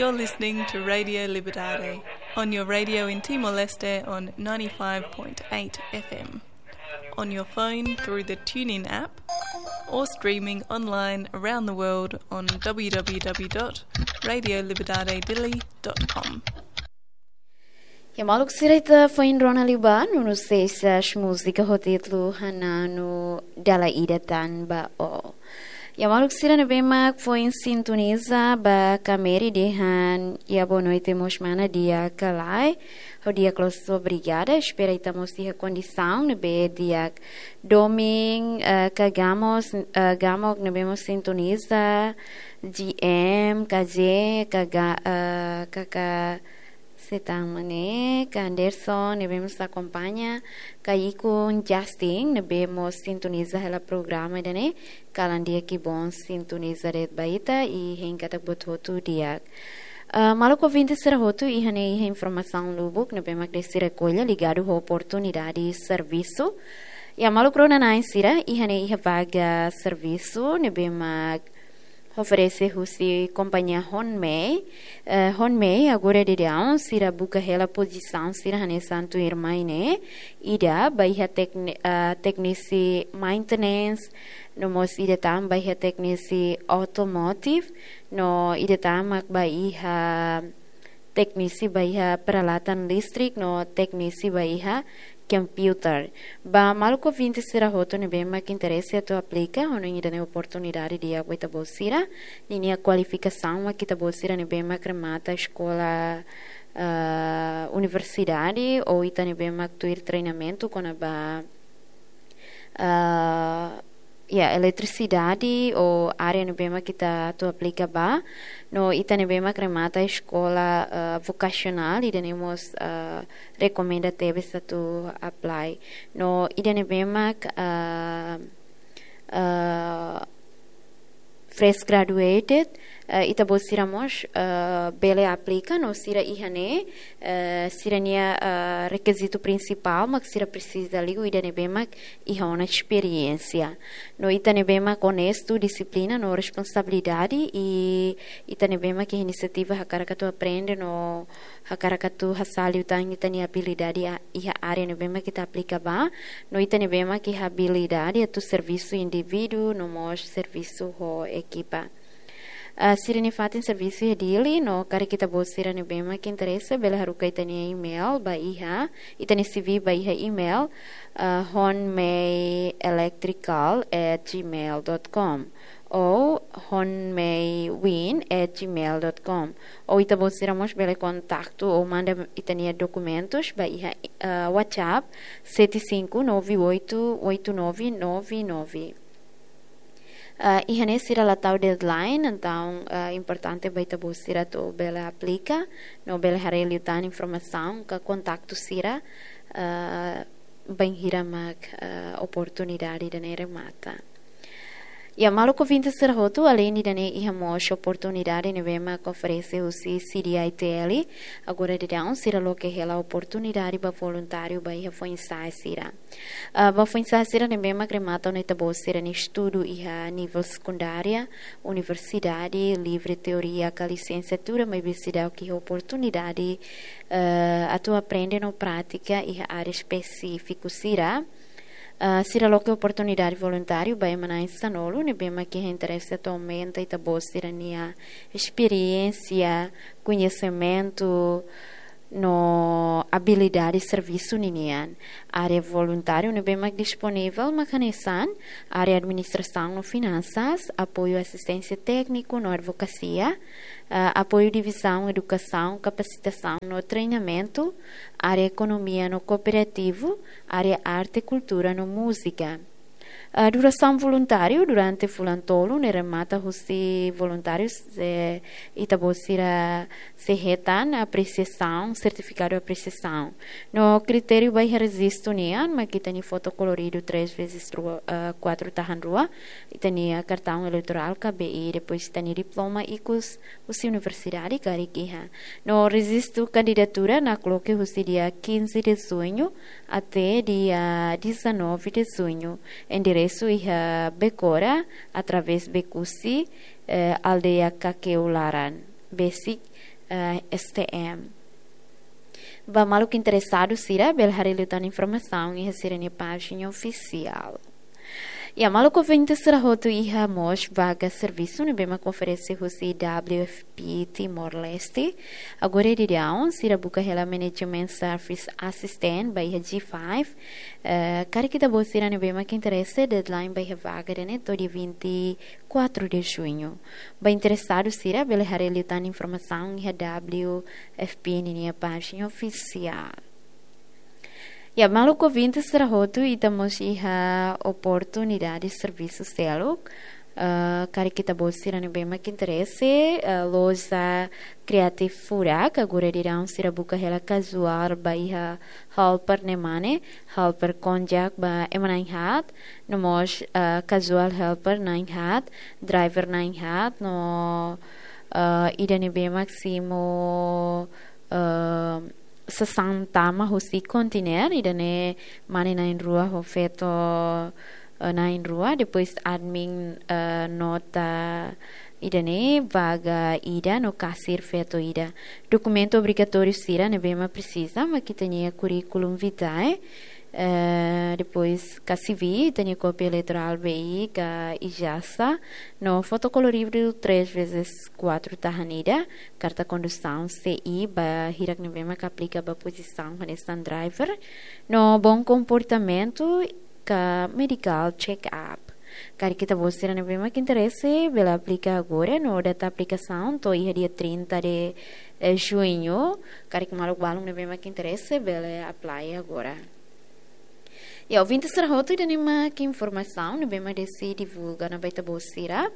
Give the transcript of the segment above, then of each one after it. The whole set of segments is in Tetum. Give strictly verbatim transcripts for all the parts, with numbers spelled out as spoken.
You're listening to Radio Liberdade on your radio in Timor-Leste on ninety-five point eight F M, on your phone through the TuneIn app, or streaming online around the world on w w w dot radio liberdade dili dot com. Ya maluk sira, ita foin rona liubá, no nos sesa múzika ho títulu Hananu Dala Ida Tan Ba Ó. Ya maluk sira ne'ebé mak foin sintoniza ba Kameri dehan, ya boa noite mós mana di'ak ka lae, ha'u di'ak loos, obrigada. Espera ita mós iha kondisaun ne'ebé di'ak. Domin, eh, ka Gamos, eh, Gamok ne'ebé mós sintoniza, G M, K J, ka Ga-, eh, ka, ka, Setang Mane, ka Anderson, ne'ebé mós akompaña, ka Ikun Justin, ne'ebé mós sintoniza hela programa ida-ne'e, kalan di'ak, kibon sintoniza de'it ba ita, i hein katak buat hotu di'ak. Ah, maluk ouvinte sira hotu, iha ne'e iha informasaun lubuk ne'ebé mak Desi rekolla ligadu ho oportunidade servisu. Ya maluk rona-na'in sira, iha ne'e iha vaga servisu ne'ebé mak oferese husi kompañia Honmei. Eh, Honmei agora daudaun sira buka hela pozisaun sira hanesan tuirmai ne'e. Ida ba iha tekni-, eh, teknisi maintenance, no mós ida tan ba iha teknisi automotive, no ida tan mak ba iha teknisi ba iha peralatan listrik, no teknisi ba iha komputer. Ba maluk ouvinte sira hotu ne'ebé mak interese atu aplika, ha'u hanoin ida-ne'e oportunidade di'ak ba ita-boot sira. Ninia kualifikasaun mak ita-boot sira ne'ebé mak remata eskola, eh, universidade, ou ita ne'ebé mak tuir treinamentu kona-ba, eh, ya, eletrisidade ou área ne'ebé mak ita atu aplika ba, no ita ne'ebé mak remata eskola, eh, vokasionál, ida-ne'e mós, eh, rekomenda tebes atu apply. No ida ne'ebé mak, eh, eh, fresh graduated, eh, ita-boot sira mós, eh, bele aplika, no sira iha ne'e, eh, sira-nia, eh, rekizitu prinsipál mak sira presiza liu ida ne'ebé mak iha ona esperiénsia. No ita ne'ebé mak onestu, dixiplina no responsabilidade, i ita ne'ebé mak iha inisiativa hakarak atu aprende no hakarak atu hasa'e liután ita-nia abilidade a-, iha área ne'ebé mak ita aplika ba, no ita ne'ebé mak iha abilidade atu servisu indivíduu no mós servisu ho ekipa. Ah, sira-nia fatin servisu iha Dili, no karik ita-boot sira ne'ebé mak interese, bele haruka ita-nia email ba iha, ita-nia C V ba iha email, ah, honmeielectrical at gmail dot com ou honmeiwin at gmail dot com. Ou ita-boot sira mós bele kontaktu ou manda ita-nia dokumentus ba iha, ah, WhatsApp sete cinco nove oito oito nove nove nove. Ah, iha ne'e sira la tau deadline, entaun, ah, importante ba ita-boot sira atu bele aplika, no bele haree liután informasaun ka kontaktu sira, ah, bainhira mak, ah, oportunidade ida-ne'e remata. Ya maluk ouvinte sira hotu, aleinde ida-ne'e iha mós oportunidade ne'ebé mak oferese husi C D I T L, agora daudaun sira loke hela oportunidade ba voluntáriu ba iha foin-sa'e sira. Ah, ba foin-sa'e sira ne'ebé mak remata ona ita-boot sira-nia estudu iha nivel sekundária, universidade, livre teoria ka lisensiatura, maibé seidauk iha oportunidade, eh, atu aprende no prátika iha área espesífiku sira. Ah, sira loke oportunidade voluntáriu ba ema na'in sanulu ne'ebé mak iha interese atu aumenta ita-boot sira-nia esperiénsia, koñesimentu no abilidade servisu ninian. Área voluntáriu ne'ebé mak disponivel mak hanesan área administrasaun no finansas, apoiu asisténsia tékniku no advokasia, ah, apoiu divizaun edukasaun, kapasitasaun no treinamentu, área ekonomia no kooperativu, área arte, kultura no múzika. Ah, durasaun voluntáriu durante fulan tolu ne'e remata husi voluntáriu se ita-boot sira sei hetan apresiasaun, sertifikadu apresiasaun. No kritériu ba iha rejistu nian, mak ita-nia foto koloridu três vezes rua, ah, quatro tahan rua, ita-nia kartaun eleitorál ka B I, depois ita-nia diploma ikus husi universidade karik iha. No rejistu kandidatura nakloke husi dia quinze de junho até dia dezanove de junho. Enderesu iha Becora, através Becusse, eh, aldeia Kakeu Laran. besik, eh, S T M. Ba maluk interesadu sira, bele haree liután informasaun iha sira-nia pájina ofisiál. Ya, maluk ouvinte sira hotu, iha mós vaga servisu ne'ebé mak oferese husi W F P Timor-Leste. Agora daudaun sira buka hela Management Service Assistant ba iha G five. Eh, karik ita-boot sira ne'ebé mak interese, deadline ba iha vaga ida-ne'e to'o dia vinte e quatro de junho. Ba interesadu sira, bele haree liután informasaun iha W F P ninia pájina ofisiál. Ya, maluk ouvinte sira hotu, ita mós iha oportunidade servisu seluk. Eh, karik ita-boot sira ne'ebé mak interese, eh, loja Creative Furak, agora daudaun sira buka hela casual ba iha helper ne'e mak ne'e, helper konjak ba ema na'in-haat, no mós, eh, casual helper na'in-haat, driver na'in-haat, no, eh, ida ne'ebé mak simu, eh, sasán tama husi konteiner, ida-ne'e mane na'in-rua ho feto, eh, na'in-rua, depois admin, eh, nota ida-ne'e vaga ida no kasir feto ida. Dokumentu obrigatóriu sira ne'ebé mak presiza, mak ita-nia curriculum vitae, eh, depois ka C V, ita-nia kópia eleitorál B I, ka ijazah, no foto koloridu três vezes quatro tahan ida, karta kondusaun C I ba hirak ne'ebé mak aplika ba pozisaun hanesan driver, no bom comportamento ka medical check-up. Karik ita-boot sira ne'ebé mak interese, bele aplika agora, no data aplikasaun to'o iha dia trinta de, eh, junho. Karik maluk balun ne'ebé mak interese, bele apply agora. Ya, ouvinte sira hotu, ida-ne'e mak informasaun ne'ebé mak Desi divulga ona ba ita-boot sira.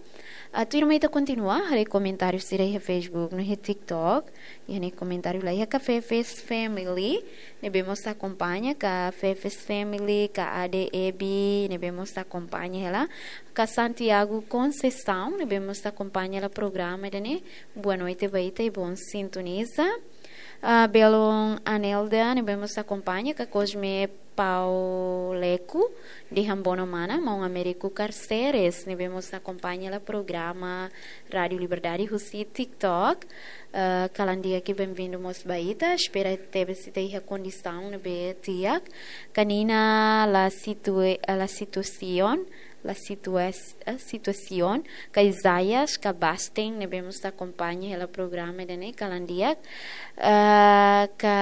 Ah, tuirmai ita kontinua haree komentáriu sira iha Facebook no iha TikTok. Iha ne'e komentáriu la iha Café Fest Family ne'ebé mós akompaña, Café Fest Family, ka A D E B ne'ebé mós akompaña hela, ka Santiago Conceição ne'ebé mós akompaña hela programa ida-ne'e. Boa noite ba ita i bom sintoniza. Ah, belun Anelda ne'ebé mós akompaña, ka Cosme Pauleco, dehan bono mana, maun Américo Carceres ne'ebé mós akompaña hela programa Rádio Liberdade husi TikTok. Eh, kalan di'ak i benvindu mós ba ita. Espera tebes ita iha kondisaun ne'ebé di'ak. Ka Nina La Situa-, La Situación, La Situas-, eh, Situación, ka Isaias, ka Basten ne'ebé mós akompaña hela programa ida-ne'e, kalan di'ak. Eh, ka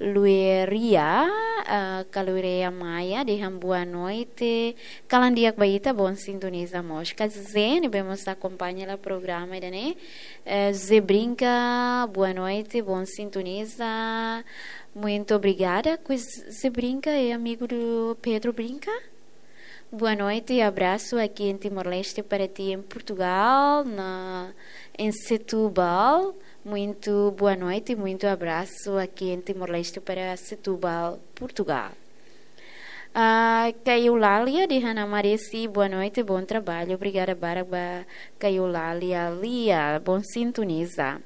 Lueria, ah, ka Lueria Maia, dehan boa noite. Kalan di'ak ba ita, bom sintoniza mós. Ka Zé ne'ebé mós akompaña hela programa ida-ne'e. Eh, Zé Brinca, boa noite, bom sintoniza. Muito obrigada. Pois Zé Brinca é amigo do Pedro Brinca? Boa noite e abraço aqui em Timor-Leste para ti em Portugal, na, em Setúbal. Muito boa noite, muito abraço aqui em Timor-Leste para Setúbal, Portugal. Ah, ka Eulalia dehan Ana Maresi, boa noite, bom trabalho. Obrigada barak ba ka Eulalia Lia, bom sintoniza.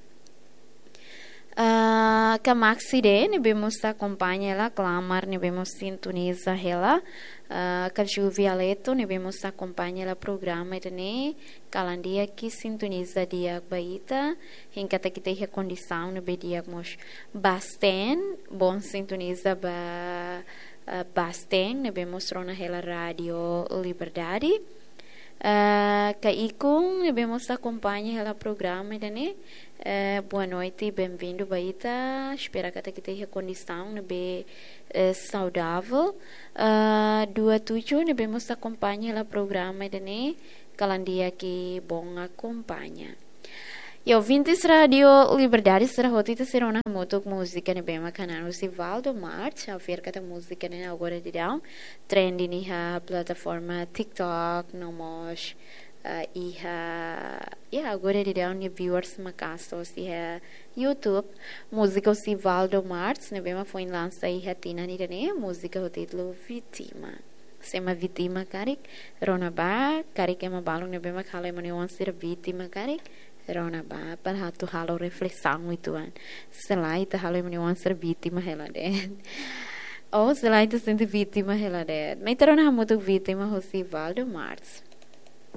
Ah, ka Maxide ne'ebé mós akompaña hela, Clamar ne'ebé mós sintoniza hela, ah, ka Ju Vialeto ne'ebé mós akompaña hela programa ida-ne'e, kalan di'ak i sintoniza di'ak ba ita, hein katak ita iha kondisaun ne'ebé di'ak mós. Basten, bom sintoniza ba, ah, Basten ne'ebé mós rona hela Rádio Liberdade. Ah, ka Ikun ne'ebé mós akompaña hela programa ida-ne'e. Eh, boa noite, benvindu ba ita. Espera katak ita iha kondisaun ne'ebé, eh, saudavel. Ah, Dua Tujuh ne'ebé mós akompaña hela programa ida-ne'e, kalan di'ak i bom akompaña. Ya, ouvintes Rádio Liberdade sira hotu, ita sei rona hamutuk múzika ne'ebé mak hanan husi Valdo Martins, ha'u fiar katak múzika ne'e agora daudaun trending iha plataforma TikTok, no mós, eh, iha, ya, agora daudaun nia viewers maka'as iha YouTube. Múzika husi Valdo Martins ne'ebé mak foin lansa iha tinan ida-ne'e, múzika ho títulu Vítima. Se ema vítima karik, rona bá, karik ema balun ne'ebé mak halo ema nia oan sira vítima karik, rona bá, para atu halo reflesaun uitoan. Se lae ita halo ema nia oan sira vítima hela de'it. Ou se lae ita sente vítima hela de'it. Mai ita rona hamutuk Vítima husi Valdo Martins.